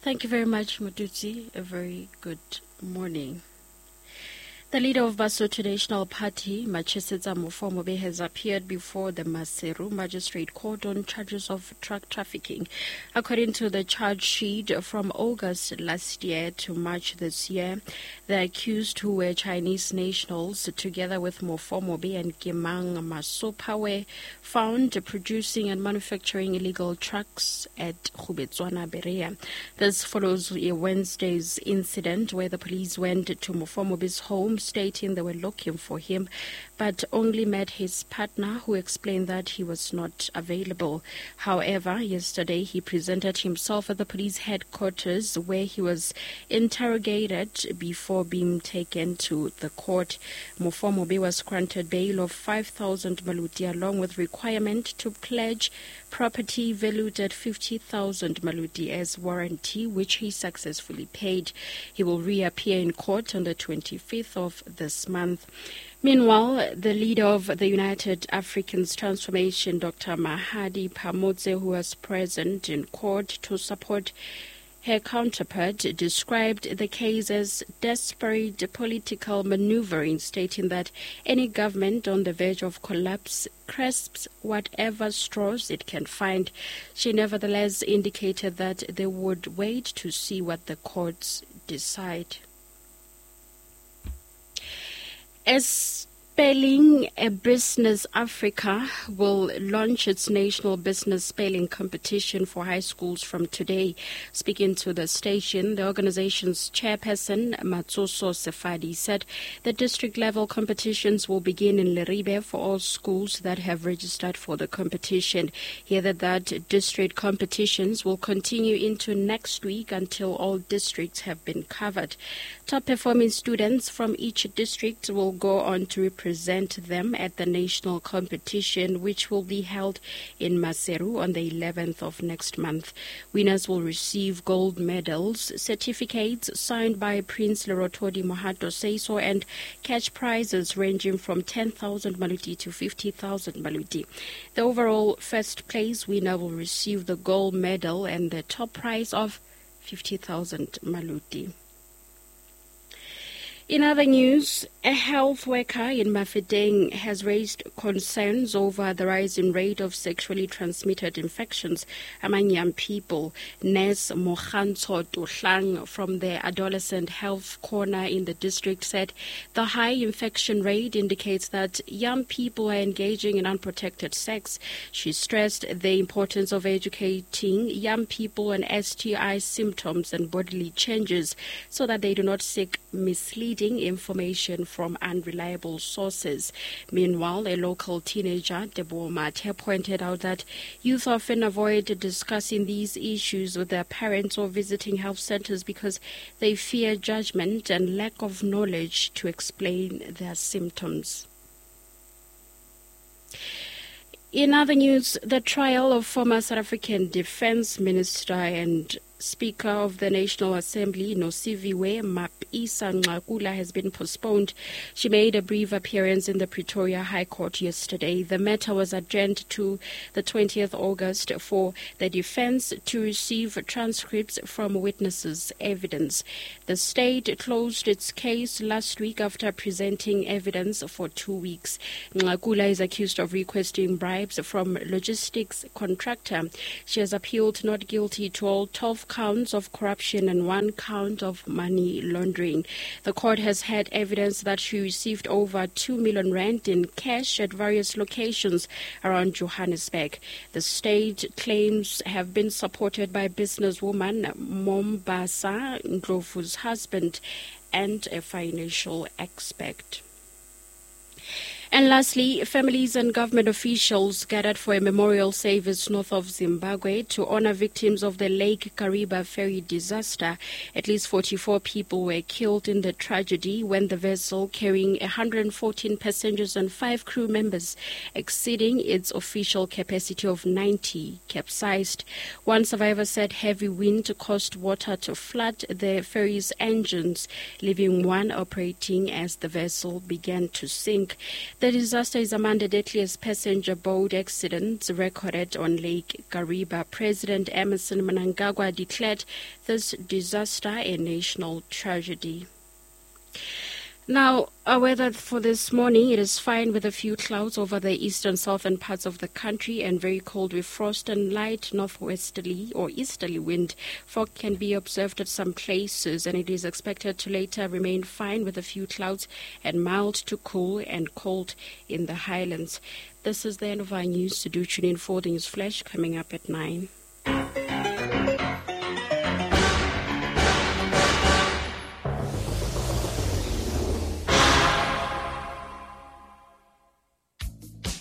Thank you very much, Mututsi. A very good morning. The leader of Basotho National Party, Machesetsa Mofomobe, has appeared before the Maseru Magistrate Court on charges of drug trafficking. According to the charge sheet from August last year to March this year, the accused, who were Chinese nationals, together with Mofomobe and Kimang Masopa, were found producing and manufacturing illegal trucks at Khubetswana, Berea. This follows a Wednesday's incident where the police went to Mofomobe's home stating they were looking for him, but only met his partner, who explained that he was not available. However, yesterday he presented himself at the police headquarters, where he was interrogated before being taken to the court. Mofomobe was granted bail of 5,000 maluti along with requirement to pledge property valued at 50,000 maluti as warranty, which he successfully paid. He will reappear in court on the 25th of this month. Meanwhile, the leader of the United Africans Transformation, Dr. Mahadi Phamotse, who was present in court to support her counterpart, described the case as desperate political maneuvering, stating that any government on the verge of collapse grasps whatever straws it can find. She nevertheless indicated that they would wait to see what the courts decide. As Spelling a Business Africa will launch its national business spelling competition for high schools from today. Speaking to the station, the organization's chairperson, Matsoso Sefadi, said the district-level competitions will begin in Leribe for all schools that have registered for the competition. He added that district competitions will continue into next week until all districts have been covered. Top-performing students from each district will go on to represent them at the national competition, which will be held in Maseru on the 11th of next month. Winners will receive gold medals, certificates signed by Prince Lerotodi Mohato Seiso, and cash prizes ranging from 10,000 maluti to 50,000 maluti. The overall first place winner will receive the gold medal and the top prize of 50,000 maluti. In other news, a health worker in Mafeteng has raised concerns over the rising rate of sexually transmitted infections among young people. Nurse Mohanto Tohlang from the Adolescent Health Corner in the district said the high infection rate indicates that young people are engaging in unprotected sex. She stressed the importance of educating young people on STI symptoms and bodily changes so that they do not seek misleading information from unreliable sources. Meanwhile, a local teenager, Debo Mate, pointed out that youth often avoid discussing these issues with their parents or visiting health centers because they fear judgment and lack of knowledge to explain their symptoms. In other news, the trial of former South African Defense Minister and Speaker of the National Assembly, Nosiviwe Mapisa-Nqakula, has been postponed. She made a brief appearance in the Pretoria High Court yesterday. The matter was adjourned to the 20th August for the defense to receive transcripts from witnesses' evidence. The state closed its case last week after presenting evidence for 2 weeks. Nqakula is accused of requesting bribes from logistics contractor. She has appealed not guilty to all 12 counts of corruption and 1 count of money laundering. The court has had evidence that she received over 2 million rand in cash at various locations around Johannesburg. The state claims have been supported by businesswoman Mombasa Ndlovu's husband and a financial expert. And lastly, families and government officials gathered for a memorial service north of Zimbabwe to honor victims of the Lake Kariba ferry disaster. At least 44 people were killed in the tragedy when the vessel carrying 114 passengers and 5 crew members, exceeding its official capacity of 90, capsized. One survivor said heavy wind caused water to flood the ferry's engines, leaving one operating as the vessel began to sink. The disaster is among the deadliest passenger boat accidents recorded on Lake Kariba. President Emmerson Mnangagwa declared this disaster a national tragedy. Now, our weather for this morning, it is fine with a few clouds over the eastern southern parts of the country and very cold with frost and light northwesterly or easterly wind. Fog can be observed at some places, and it is expected to later remain fine with a few clouds and mild to cool and cold in the highlands. This is the end of our news. Do tune in for the News Flash coming up at 9.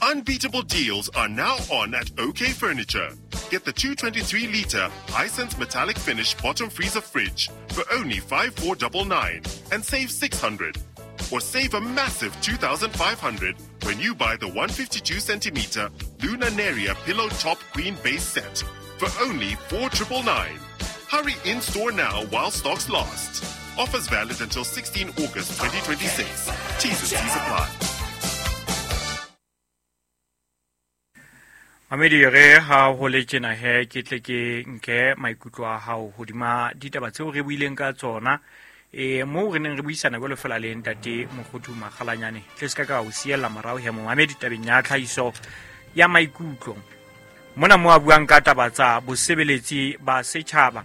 Unbeatable deals are now on at OK Furniture. Get the 223-litre Hisense metallic finish bottom freezer fridge for only 5,499 and save 600. Or save a massive 2,500 when you buy the 152-centimeter Luna Neria pillow top queen base set for only 4,999. Hurry in store now while stocks last. Offers valid until 16 August 2026. T's and C's apply. Mamedi re ha ho le tjena he ke tle ke nke maikutlo a hao hodima ditaba tseo re buileng ka tsona moo re neng re buisana jwalo fela le ntate Mokgothu Makgalanyane tle se ka o siella morao he momamedi tabeng ya tlhahiso ya maikutlo mona mo a buang ka taba tsa bosebeletsi ba setjhaba.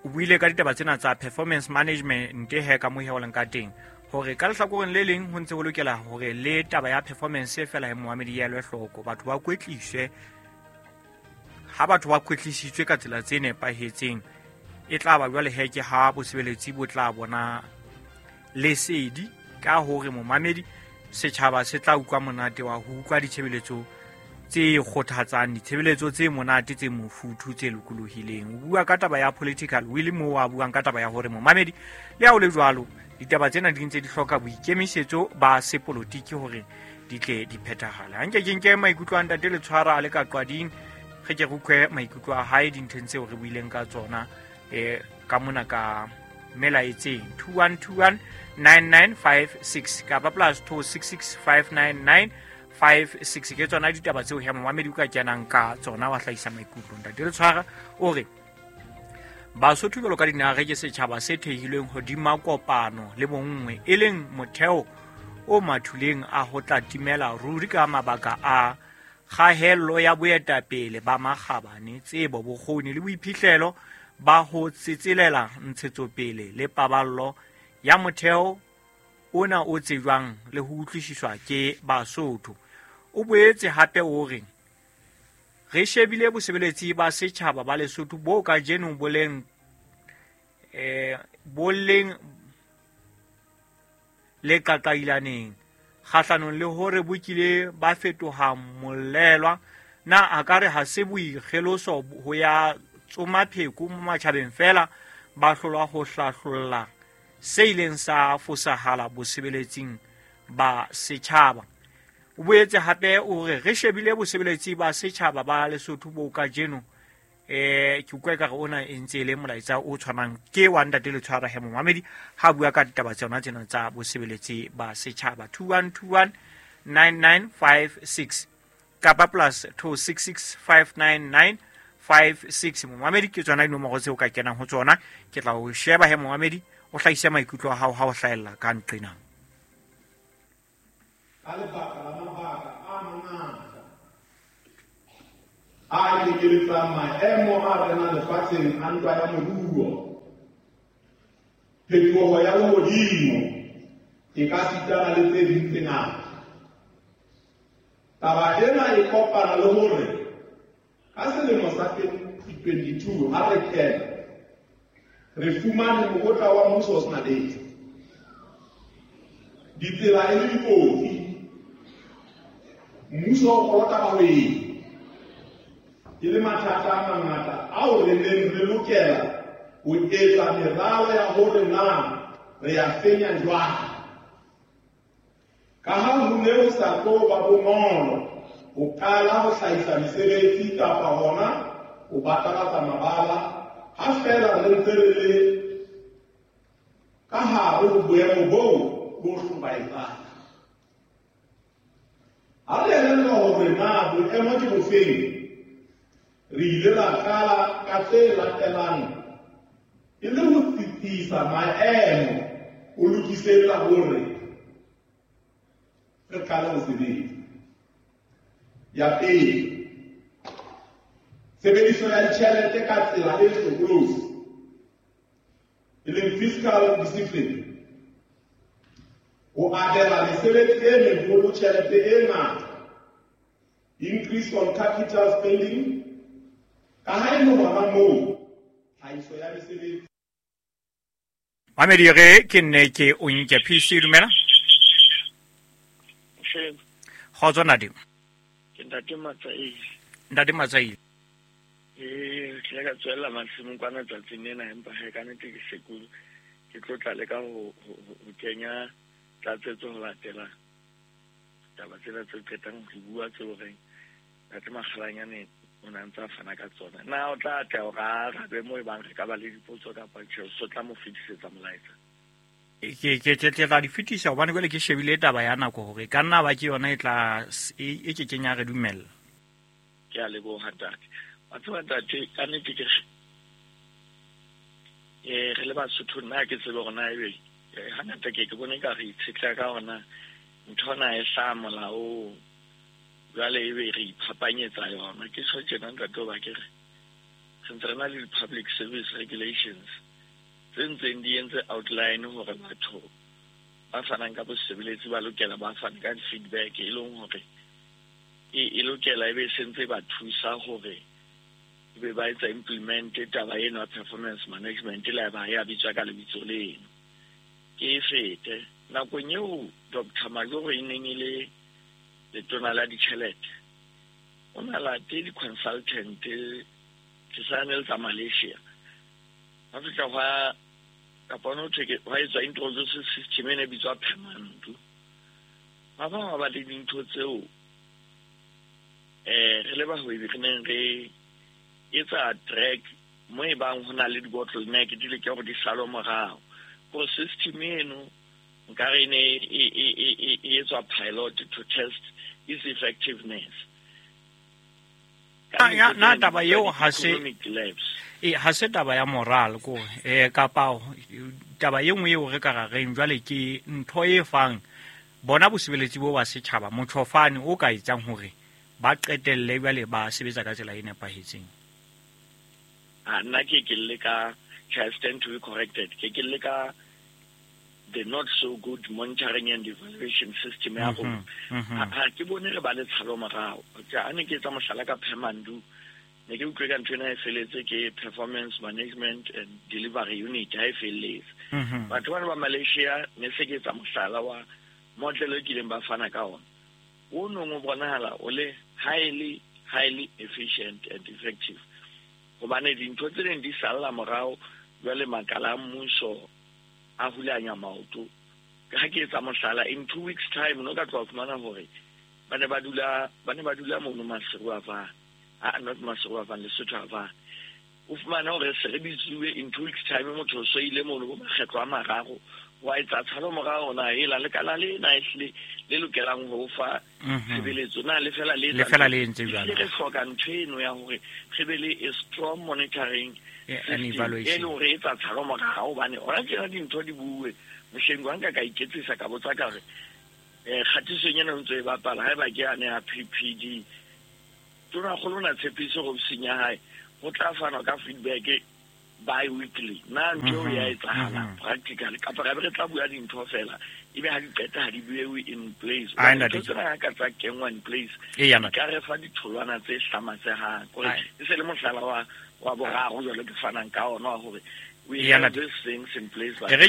O buile ka ditaba tsena tsa performance management he ka mo he o leng ka teng hore ka lehlakoreng le leng ho ntse ho lokela hore le taba ya performance fela he moamedi ya elwe hloko, batho ba kwetliswe. Ha batho ba kwetlisitswe ka tsela tse nepahetseng e tla ba jwale he ke ha bosebeletsi bo tla bona lesedi ka hore momamedi setjhaba se tla utlwa monate wa ho utlwa ditshebeletso tse kgothatsang, ditshebeletso tse monate tse mofuthu tse lokolohileng. O bua ka taba ya political will moo a buang ka taba ya hore momamedi le ha o le jwalo ditaba tsena di ntse di hloka boikemisetso ba sepolotiki hore di tle di phethahale. Ha nke ke nke maikutlo a ntate Letshwara a le ka qwading, re ke re utlwe maikutlo a hae dinthong tseo re buileng ka tsona ka mona ka melaetseng 2121 9956 kapa plus 26659956 ke tsona ditaba tseo he momamedi o ka kenang ka tsona wa hlahisa maikutlo. Ntate Letshwara o re Basotho jwalo ka dinaha ke setjhaba se thehilweng hodima kopano le bonngwe e leng motheo o mathuleng a ho tla timela ruri ka mabaka a kgahello ya boetapele ba makgabane, tsebo, bokgoni le boiphihlelo ba ho tsetselela ntshetsopele le paballo ya motheo ona o tsejwang le ho utlwisiswa ke Basotho. O boetse hape o re re shebile bosebeletsi ba setjhaba ba Lesotho bo kajeno boleng le qaqailaneng kgahlanong le hore bo kile ba fetoha molelwa. Na a ka re ha se boikgeloso ho ya tsoma pheko mo matjhabeng fela ba hlolwa ho hlahlolla se ileng sa fosahala bosebeletsing ba setjhaba. O boetse hape o re re shebile bosebeletsi ba setjhaba ba Lesotho bo kajeno ke utlwa ekare ona e ntse e le molaetsa o tshwanang ke wa ntate Letshwara he momamedi ha bua ka ditaba tsona tsena tsa bosebeletsi ba setjhaba. 2121 9956 kapa plus 26659956 momamedi ke tsona dinomoro tseo ka kenang ho tsona. Ke tla o sheba he momamedi o hlahise maikutlo a hao ha o hlahella ka nqena. Ka lebaka la mabaka a mangata a kenyeletsang maemo a renang lefatsheng a ntwa ya moruo, phetoho ya lehodimo e ka sitana le tse ding tse ngata. Taba ena e kopana le hore ka selemo sa 2022 ha re kena re fumane mokotla wa mmuso o sena letho, ditsela e le dikotsi, mmuso o kolota bahwebi, e le mathata a mangata ao re neng re lokela ho etsa meralo ya hore na re a fenya jwang. Ka ha ho ne ho sa tlo ba bonolo ho qala ho hlahisa mesebetsi kapa hona ho batalatsa mabala ha feela re ntse re le ka hare ho boemo boo bo hlobaetsang. Ha re elellwa hore na boemo ke bofeng, re ile ra qala ka tse latelang e le ho tsitsisa maemo ho lokisetsa hore re qale ho sebetsa. Ya pele, tshebediso ya ditjhelete ka tsela e hlokolosi, e leng fiscal discipline, ho abela mesebetsi e meholo tjhelete e ngata, increase on capital spending, ka ha e le hona moo tlhahiso ya mesebetsi. Mamedi re ke nne ke o nke PC dumela. Kgotso ntate. Ke ntate Matsaile. Ntate Matsaile. Ee, ke ile ka tswella masimong kwana tsatsing lena, empa he ka nnete ke sekolo ke tlo tla leka ho kenya tlatsetso ho latela taba tsena tse qetang ho bua tseo reng ntate Makgalanyane o ne a ntse a fana ka tsona. Na o tla atleha hore a arabe moo e bang re ka ba le dipotso kapa tjhe, o so tla mo fetisetsa molaetsa? Ke tla di fetisa hobane jwale ke shebile taba ya nako hore e ka nna ba ke yona e tla e ke kenya re dumella. Ke a leboha ntate. Wa tseba ntate, ka nnete ke re re le Basotho nna ke tsebe hore na ebe hangata ke ke bone ka re itshetleha ka hore na ntho na e hlaha molaong, jwale ebe re iphapanyetsa yona. Ke tjho tjena ntate hoba ke re re ntse re na le di-public service regulations tse ntseng di entse outline hore batho ba fanang ka bosebeletsi ba lokela ba fane ka di-feedback, e leng hore e lokela ebe e sentse ba thusa hore ebe ba etsa implement taba eno ya performance management le haeba ya bitswa ka lebitso leno. Ke e fete nakong eo Dr. Majoro e neng e le letona la ditjhelete, o na late di-consultant ke sa ne le tsa Malaysia. Ba fihla hwa kapa ho thwe ke hwa etswa introduce system e ne bitswa Phemandu. Ba bang ba ba le dintho tseo re le bahwebi re neng re etsa track mo e bang ho na le di-bottleneck di leke hore di salwe morao. Gore system eno nkare e ne e etswa pilot to test its effectiveness. Na taba eo ha se ha se taba ya moral ko kapa taba e nngwe eo re ka ra reng jwale ke ntho e fang bona bosebeletsi bo ba setjhaba motjhofane o ka etsang hore ba qetelle jwale ba sebetsa ka tsela e nepahetseng. Nna ke ke le ka I stand to be corrected. Ke ke le ka the not so good monitoring and evaluation system ya rona. Ha ke bone re ba le tshalo morao. A ne ke etsa mohlala ka Phemandu, ne ke utlwe ka ntho ena e feletse ke performance management and delivery unit ha e felletse. Batho bana ba Malaysia ne se ke etsa mohlala wa model e kileng ba fana ka ona. O nong o bonahala o le highly highly efficient and effective. Hobane dintho tse ding di salla morao jwale makala a mmuso a hulanya maoto. Ha ke etsa mohlala, in 2 weeks time no ka tloha fumana hore ba ne ba dula mono Maseru a Van. Not Maseru a Van, Lesotho a Van. O fumana hore se re bitsuwe in 2 weeks time motho o so ile mono bo makgetlo a mararo wa etsa tshalo morao na ela le kala le na ehle le lokelang ho fa tshebeletso na le fela le le fela le entse jwalo. Re hloka ntho eno ya hore re be le a strong monitoring and evaluation e le hore etsa tshalo morao hobane hona tjena dintho di bue. Mohleng wa nka ka iketsisa ka botsa ka re kgatisong ena ntse e bapala haeba ke yane ya PPD tona kgolo na tshepiso go senya hae ho tla fanwa ka feedback bi-weekly. Na ntho ya etsahala practically kapa re tla bua dintho fela ebe ha di qeta ha di buewe in place. Ntho tsena ka tsa kenngwa in place ka re fa ditholwana tse hlamatsehang kore e se le mohlala wa boraro jwale ke fanang ka ona wa hore we have these things in place. Re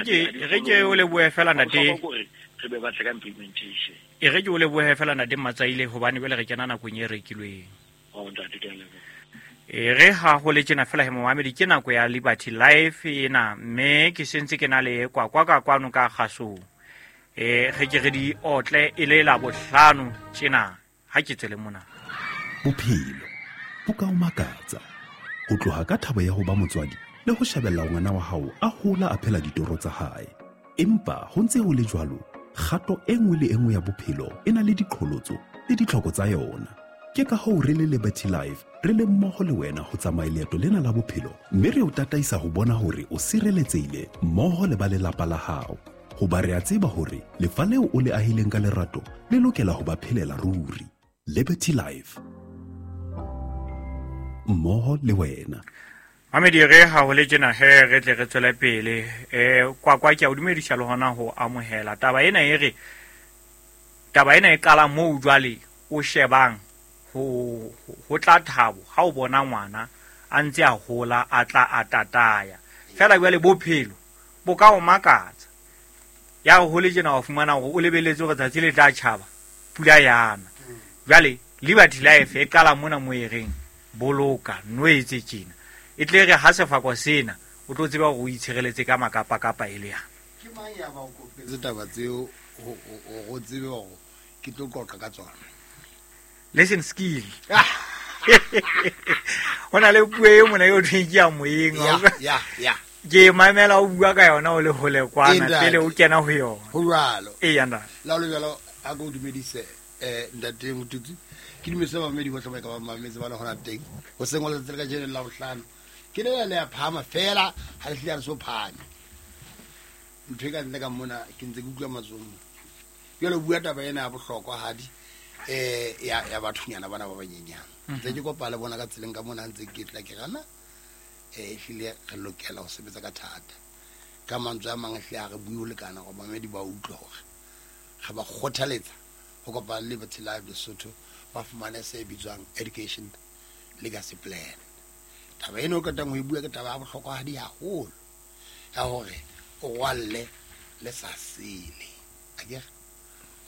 ke o lebohe fela ntate, re be batle ka implementation. E re ke o lebohe fela ntate Matsaile hobane jwale re kena nakong e rekilweng. Oh ntate ke a leboha. E re ha ho le tjena fela he momamedi ke nako ya Liberty Life ena mme ke sentse ke na le kwakwa ka kwano ka kgasong. Re ke re di otle e le la bohlano tjena ha ke tswele mona. Bophelo bo ka o makatsa ho tloha ka thabo ya ho ba motswadi le ho shebella ngwana wa hao a hola a phela ditoro tsa hae. Empa ho ntse ho le jwalo, kgato e nngwe le e nngwe ya bophelo e na le diqholotso le ditlhoko tsa yona. Ke ka hoo re le Liberty Life re le mmoho le wena ho tsamaya leeto lena la bophelo, mme re o tataisa ho bona hore o sireletsehile mmoho le ba lelapa la hao. Hoba re a tseba hore lefa leo o le ahileng ka lerato le lokela ho ba phelela ruri. Liberty Life, mmoho le wena. Mamedi, re ha ho le tjena he re tle re tswele pele. Kwakwa ke a o dumedisa le hona ho amohela taba ena. E re taba ena e qala moo jwale o shebang ho tla thabo ha o bona ngwana a ntse a hola, a tla a tataya fela. Jwale bophelo bo ka o makatsa, ya re ho le tjena wa fumana hore o lebeletse hore tsatsi le tla tjhaba pula yana. Jwale Liberty Life e qala mona mo e reng boloka, no etse tjena, e tle re ha sefako sena o tlo tseba hore o itshireletse ka makapa-kapa e le yana. Ke mang ya ba o kopetse taba tseo ho tsebe hore ke tlo qoqa ka tsona? Lesson skill. Ho na le puo e mona eo thweng ke ya moyeng. Ya. Ke mamela o bua ka yona o le hole kwana pele o kena ho yona. Ho jwalo. Eya ntate. La ho le jwalo, a ko dumedise ntate Motutsi. Ke dumedise bamamedi bohle ba ka ba mametse ba le hona teng. Ho seng ho letsatsi le kajeno la bohlano. Ke lela le ya phahama fela ha le hlile ha re so phahame. Ntho e ka ntle ka mona ke ntse ke utlwa matsoho. Jwale o bua taba ena ya bohlokwa hadi ya bathonyana bana ba banyenyane. Ntse ke kopa le bona ka tseleng ka mona ntse ke tla ke rana ehlile re lokela ho sebetsa ka thata. Ka mantswe a mang ehlile ha re bue ho lekana hore bamamedi ba utlwe hore re ba kgothaletsa ho kopana le Liberty Life Lesotho ba fumane se bitswang Education Legacy Plan. Taba ena o qetang ho e bua ke taba ya bohlokwahadi haholo ya hore o rwalle le sa sele. Akere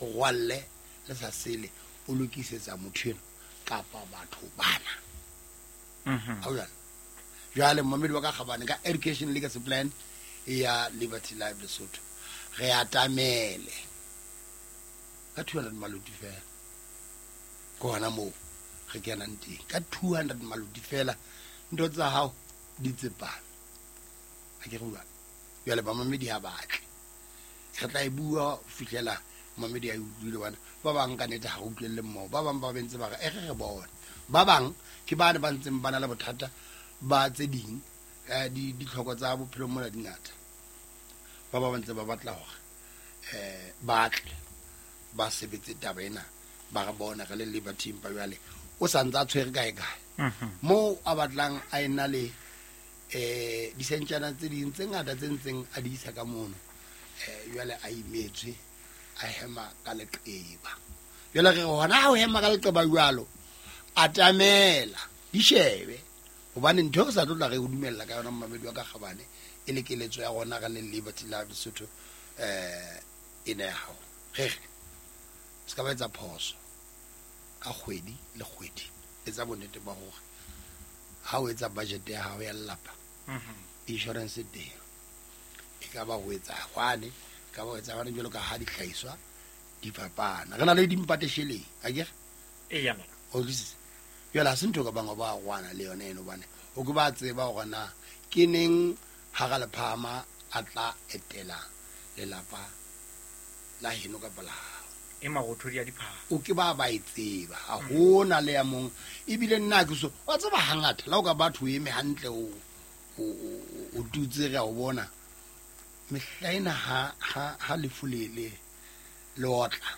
o rwalle le sa sele, o lokisetsa motho eno kapa batho bana. Ha o jwalo? Jwale momedi wa ka kgabane ka Education Legacy Plan ya Liberty Life Lesotho re atamele ka 200 maloti fela. Ke hona moo re kenang teng ka 200 maloti fela, ntho tsa hao di tsepame. Ha ke re jwalo? Jwale bamamedi ha batle, re tla e bua ho fihlela mamedi a e utlwile. Bana ba bang ka nnete ha re utlwelle mmoho, ba bang ba bentse ba re e re re bone, ba bang ke bane ba ntseng ba na le bothata ba tse ding, ditlhoko tsa bophelo mona di ngata. Ba ba ntse ba batla hore ba tle ba sebetse taba ena, ba re bona re le Liberty, empa jwale o sa ntse a tshwere kae kae moo a batlang a ena le disentjana tse ding tse ngata tse ntseng a di isa ka mono. Jwale a imetswe, a hema ka leqeba. Jwale re hona ha o hema ka leqeba jwalo, atamela di shebe, hobane ntho re sa tlo tla re o dumella ka yona momamedi wa ka kgabane, e le keletso ya rona re le Liberty Life Lesotho ena ya hao. Re re se ka ba etsa phoso ka kgwedi le kgwedi, etsa bonnete ba hore ha o etsa budget ya hao ya lelapa, insurance teng e ka ba ho etsa hwane, e ka ba ho etsa hwane, jwalo ka ha dihlahiswa di fapana. Re na le dimpate sheleng, akere? Eya. O utlwisisa? Jwale ha se ntho ka bang ba rwana le yona eno, hobane o ke ba tseba hore na ke neng ha ra lephahama a tla etela lelapa la heno kapa la hao. E marothodi a diphahlo. O ke ba ba e tseba, ha hona le ya mong. Ebile nna ke so, wa tseba hangata la o ka batho o eme hantle o tutse re a o bona. Mehla ena ha lefu le le otla,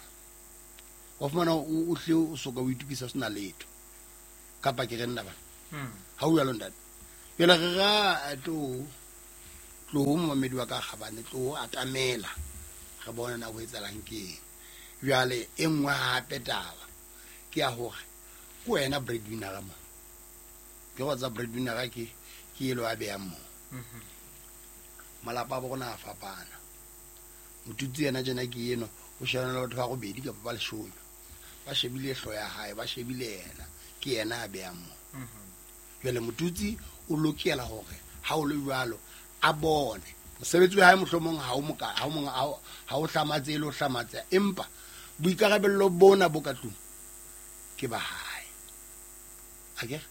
wa fumana o hle o soka o itukisa o sena letho. Kapa ke re nna bana? Ha o jwalo ntate. Jwale re ra tlo momamedi wa ka kgabane, tlo atamela re bone na ho etsahalang ke eng. Jwale e nngwe hape taba ke ya hore ke wena breadwinner mo. Ke go tsa breadwinner ke elo a beyang mo. Malapa a bo rona a fapana. Motutsi yena tjena ke eno o shebana le batho ba robedi kapa ba leshome. Ba shebile hlooho ya hae, ba shebile yena, ke yena a beyang mo. Jwale motutsi o lokela hore ha o le jwalo a bone mosebetsi wa hae mohlomong ha o moka, ha o mong, ha o hlamatse le ho hlamatse, empa boikarabello bona bo ka tlung ke ba hae. Akere?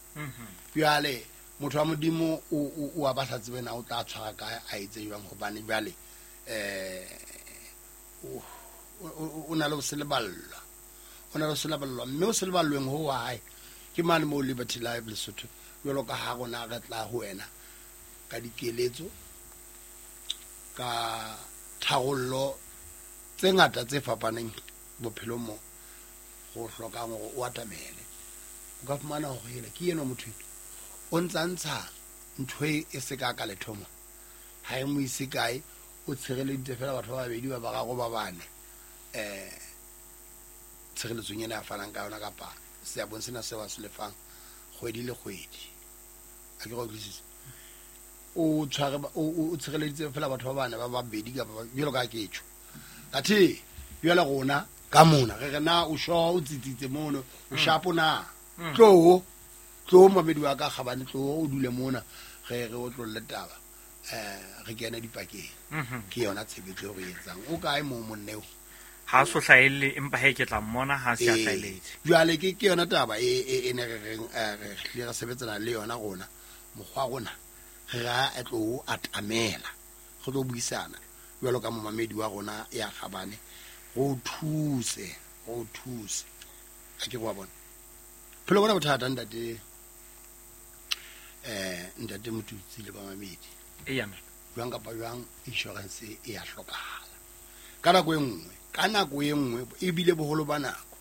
Jwale motho wa Modimo o a ba sa tsebe na o tla tshwara kae, a etse jwang, hobane jwale o na le ho se leballwa. O na le se leballwa, mme o se leballweng ho wa hae ke mane moo Liberty Life Lesotho. Jwalo ka ha rona re tla ho wena ka dikeletso, ka tharollo tse ngata tse fapaneng bophelong mo go hlokang hore o atamele. O ka fumana hore hele ke eno motho o ntsa ntsha ntho e se ka ka lethomo, ha e mo ise kae, o tshireleditse fela batho ba babedi ba bararo ba bane tshireletsong ena a fanang ka yona kapa seabong sena seo a se lefang kgwedi le kgwedi. A ke go utlwisisa? O tshware o tshireleditse fela batho ba bane ba babedi kapa jwalo ka ketjho. Athe jwale rona ka mona re re na o sho o tsitsitse mono o shapo na tlo tlo mamedi wa ka kgabane, tlo o dule mona re re o tlolle taba re kene dipakeng. Ke yona tshebetso e re etsang. O kae mo monneo? Ha so hlahelle, empa he ke tla mmona ha se a hlahelletse. Jwale ke yona taba e ne re reng re hlile re sebetsana le yona rona mokgwa rona re ra tlo atamela, re tlo buisana jwalo ka momamedi wa rona ya kgabane, go thuse go thuse. A ke go bona phelo bona bothata ntate ntate Motutsi le bamamedi. Eya jwang kapa jwang insurance e ya hlokahala ka nako e nngwe, ka nako e nngwe ebile boholo ba nako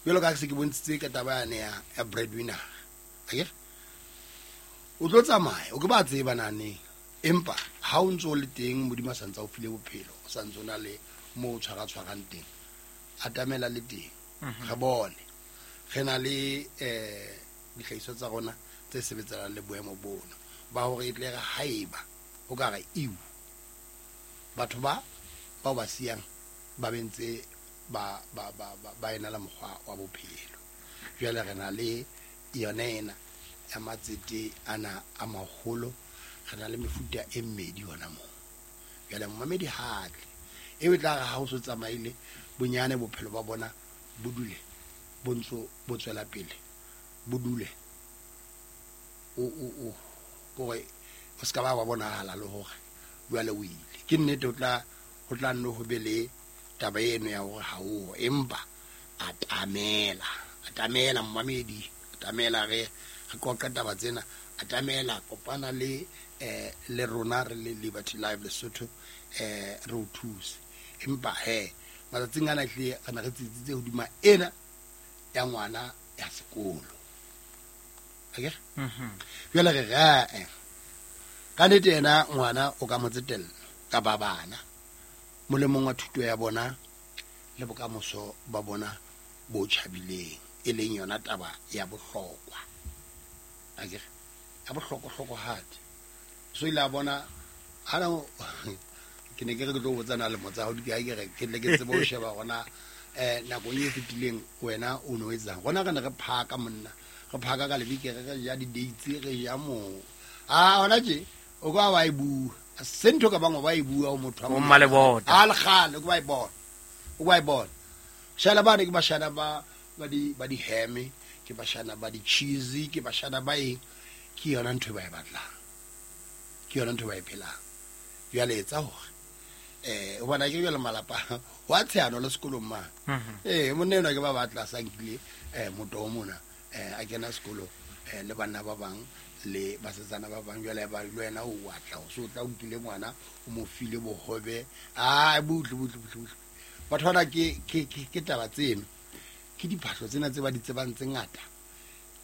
jwalo ka se ke bontshitse ka taba yane ya breadwinner. Akere o tlo tsamaya o ke ba tseba naneng, empa ha o ntso o le teng Modimo a santsa o file bophelo, o santse o na le mo o tshwara-tshwarang teng, atamela le teng re bone re na le dihlahiswa tsa rona tse sebetsanang le boemo bono ba hore e tle re haeba o ka re iu batho ba bao ba siyang ba bentse ba ba ba ba ena le mokgwa wa bophelo. Jwale re na le yona ena ya matsete ana a maholo, re na le mefuta e mmedi hona moo. Jwale momamedi ha tle eo e tla re ha o so tsamaile bonyane bophelo ba bona bo dule bo ntso bo tswela pele, bo dule o hore o ska ba wa bonahala le hore jwale o ile. Ke nnete o tla ho tla nno ho be le taba eno ya hore ha o, empa atamela atamela momamedi, atamela re re qoqe taba tsena, atamela kopana le le rona re le Liberty Life Lesotho re o thuse. Empa he matsatsing ana hle re ne re tsitsitse hodima ena ya ngwana ya sekolo. Akere jwale re re ka nnete yena ngwana o ka mo tsetella kapa bana molemong wa thuto ya bona le bokamoso ba bona bo tjhabileng, e leng yona taba ya bohlokwa. Akere ya bohlokwa-hlokohadi. So ile a bona hana ke ne ke re ke tlo botsa na lemo tsa hao di kae, ke re ke tle ke tsebe ho sheba hona nakong e fetileng wena o no etsang. Rona re ne re phaka monna, re phaka ka lebekere, re ja di-dates, re ja moo. Ah hona tje o ka wa e bua se ntho ka bangwe ba e bua ho motho wa O mmalebota. A le kgale o ka ba e bona, o ka e bona. Shana bane ke bashana ba ba di ba di-ham, ke bashana ba di-cheese, ke bashana ba eng. Ke yona ntho e ba e batlang, ke yona ntho e ba e phelang. Jwale etsa hore hobane ke jwale malapa wa tshehano le sekolong mane. Monna enwa ke ba batla sa nkile motoho mona a kena sekolo le banna ba bang le basetsana ba bang. Jwale ba le wena o atla o so tla o nkile ngwana o mo file bohobe. Ah butle butle butle butle. Batho bana ke ke ke taba tseno, ke diphahlo tsena tse ba di tsebang tse ngata,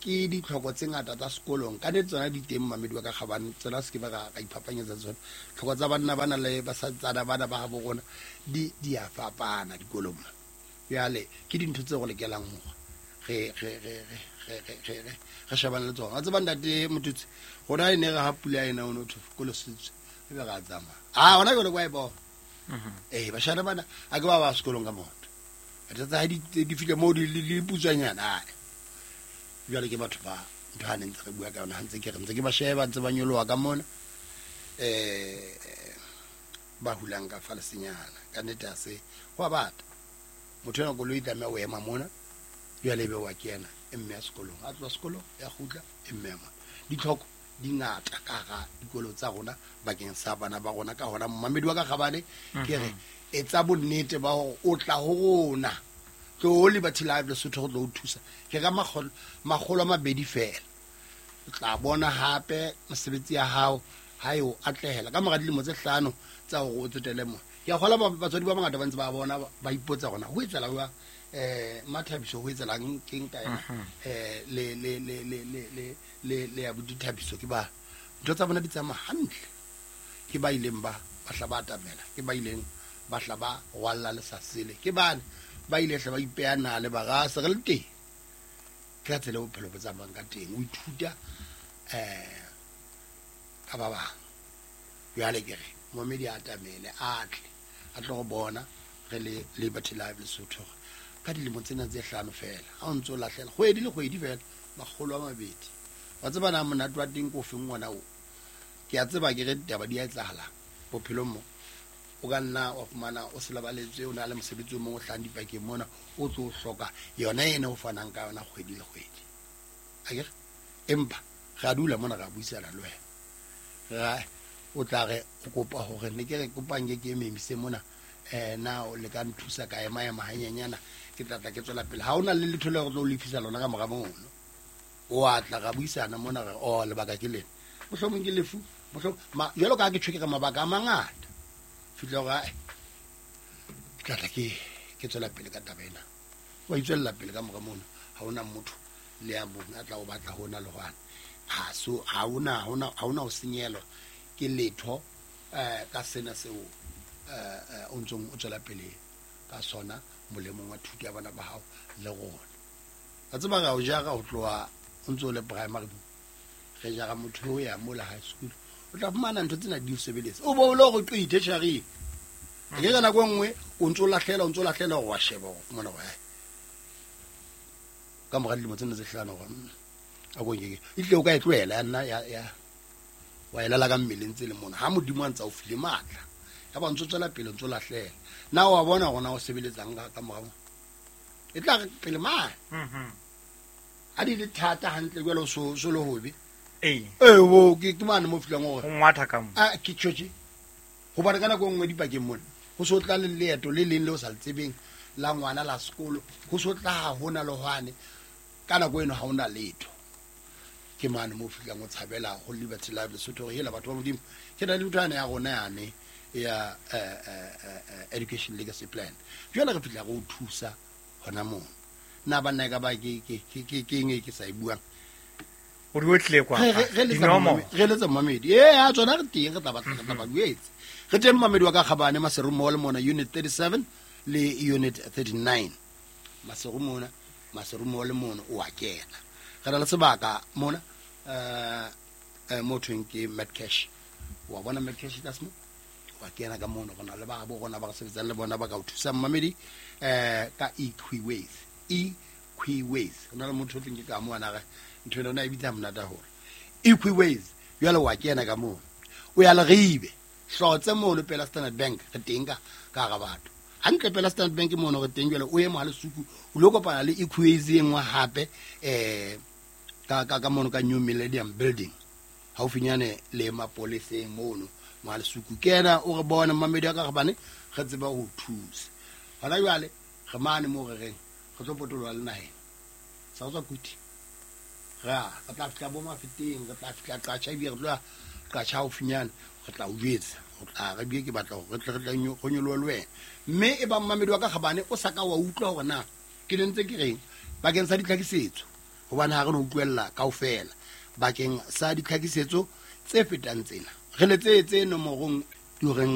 ke ditlhoko tse ngata tsa sekolong. Ka nnete tsona di teng mamedi wa ka kgabane, tsona se ke ba ka iphapanyetsa tsona. Tlhoko tsa banna bana le basetsana bana ba habo rona di di a fapana dikolong. Jwale ke dintho tse go lokelang hore re re re re re re re re shebane le tsona. Wa tseba ntate Motutsi, rona e ne re ha pula ena o no thwe sekolo se tswe, ebe re a tsamaya. Ah hona jwale kwa e bona. Bashana bana a ke ba ba sekolong ka maoto. Tsa ha di fihle moo di le putswanyana. Jwale ke batho ba ntho ha ne ntse re bua ka yona, ha ntse ke re ntse ke ba sheba ntse ba nyoloha ka mona ba hulang ka fa lesenyana. Ka nnete ha se ho a bata. Motho enwa koloi e tlameha ho ema mona, jwale ebe wa kena e mme ya sekolong, a tloha sekolong ya kgutla e mme ya mona. Ditlhoko di ngata ka hara dikolo tsa rona bakeng sa bana ba rona. Ka hona momamedi wa ka kgabane ke re etsa bonnete ba hore o tla ho rona Tlo Liberty Life Lesotho go tlo o thusa. Ke ka 200 fela. O tla bona hape mosebetsi ya hao ha e o atlehela ka mora dilemo tse 5 tsa hore o tsetele mo. Ke a kgola batswadi ba bangata ba ntse ba bona ba ipotsa gona ho etsala jwang Mathabiso ho etsalang keng ka ena le le le le le le le le ya bodithabiso ke ba ntho tsa bona di tsamaya hantle. Ke ba ileng ba hla ba atamela, ke ba ileng ba hla ba rwalla le sa sele, ke bane ba ile hle ba ipeya nale ba ra se re le teng. Ke ka tsela bophelo bo tsamayang ka teng, o ithuta ka ba bang. Jwale ke re momedi a atamele a tle a tlo go bona re le Liberty Life Lesotho ka dilemo tsena tse 5 fela. Ha o ntso lahlela kgwedi le kgwedi fela 200. Wa tseba na monate wa teng ko feng ngwana o? Ke a tseba ke re ditaba di a etsahala bophelong mo. O ka nna wa fumana o se lebaletswe, o na le mosebetsi o mong o hlahang dipakeng mona, o tlo hloka yona ena o fanang ka yona kgwedi le kgwedi. Akere? Empa re a dula mona re a buisana le wena. Ra o tla re o kopa hore ne ke re kopang ke ke memise mona, na o le ka nthusa ka ema ema hanyenyana, ke tla tla ke tswela pele. Ha ona le letho le re tlo lefisa lona ka mora mono. O a tla ra buisana mona re o lebaka ke lena. Mohlomong ke lefu, mohlomong jwalo ka ha ke tjho ke re mabaka a mangata. Fihla hore ae, ke tla tla ke tswela pele ka taba ena. Wa itswella pele ka mora mono, ha ona motho le a mong a tla o batla hona le hwane. Ha so ha ona ho senyelwa ke letho ka sena seo o ntsong o tswela pele ka sona molemong wa thuto ya bana ba hao le rona. Wa tseba ra o jara ho tloha o ntso le primary, re jara motho o ya mola high school. O tla fumana ntho tsena di o sebeletsa. O bo o lo re qithe tjhareng. Ke ka nako e nngwe o ntso lahlela, o ntso lahlela hore wa sheba hore fumana hore hai. Ka mora dilemo tsena tse 5 hore a ko nke ke. E tle o ka e tlohela ya nna ya wa e lala ka mmeleng tse le mona. Ha Modimo a ntsa o file matla. Ya ba ntso tswela pele, ntso lahlela. Na wa bona hore na o sebeletsang ka mora mo? E tla re pele mane. Ha di le thata hantle jwale o so le hobe. Ee. Wo, ke mane mo fihlang hore O ngwatha ka mo. Ah, ke tjhotjhe. Hobane ka nako e nngwe dipakeng mona, ho so tla le leeto le leng le o sa le tsebeng la ngwana la sekolo, ho so tla ha hona le hwane, ka nako eno ha hona letho. Ke mane mo fihlang o tshabela ho Liberty Life Lesotho hore hela batho ba Modimo, ke na le ntho yane ya rona yane ya Education Legacy Plan. Jwale re fihla re o thusa hona mono. Na banna e ka ba ke eng e ke sa e buang? O di otlile kwa. Re letsa momedi. A tsona re teng, re tla batla, re tla ba buetse. Re teng momedi wa ka Kgabane Maseru Mall mona unit 37 le unit 39. Maseru mona, Maseru Mall mona o a kena. Re na le sebaka mona mo thweng ke Medcash. Wa bona Medcash tlase mo? Wa kena ka mono, re na le ba bo rona ba re sebetsang le bona ba ka o thusang mamedi ka Equiways. Equiways. Re na le motho o tleng ke ka mo ana re ntho ena o na e bitsa monate haholo. Equiways. Jwale wa kena ka mono. O ya Leribe. Hlotse mono pela Standard Bank re teng ka hara batho. Hantle pela Standard Bank mono re teng jwale o ye mo ha Lesuku o lo kopana le Equiways e nngwe hape ka mono ka New Millennium Building. Haufinyane le mapoleseng mono mo ha Lesuku. Kena o re bona mamedi ka gobane re tseba ho thusa. Hona jwale re mane mo re reng re tlo potoloha le naheng. Sa tswa kuti. Ra re tla fihla bo Mafeteng, re tla fihla Qacha, ebile re tlo Qacha haufinyane, re tla o jwetsa. O tla re bue ke batla hore re tle re tle go nyolohe le wena. Mme e bang mamedi wa ka Kgabane o sa ka wa utlwa hore na ke ne ntse ke reng bakeng sa ditlhakisetso, hobane ha re no utlwella kaofela. Bakeng sa ditlhakisetso tse fetang tsena, re letsetse nomorong dioreng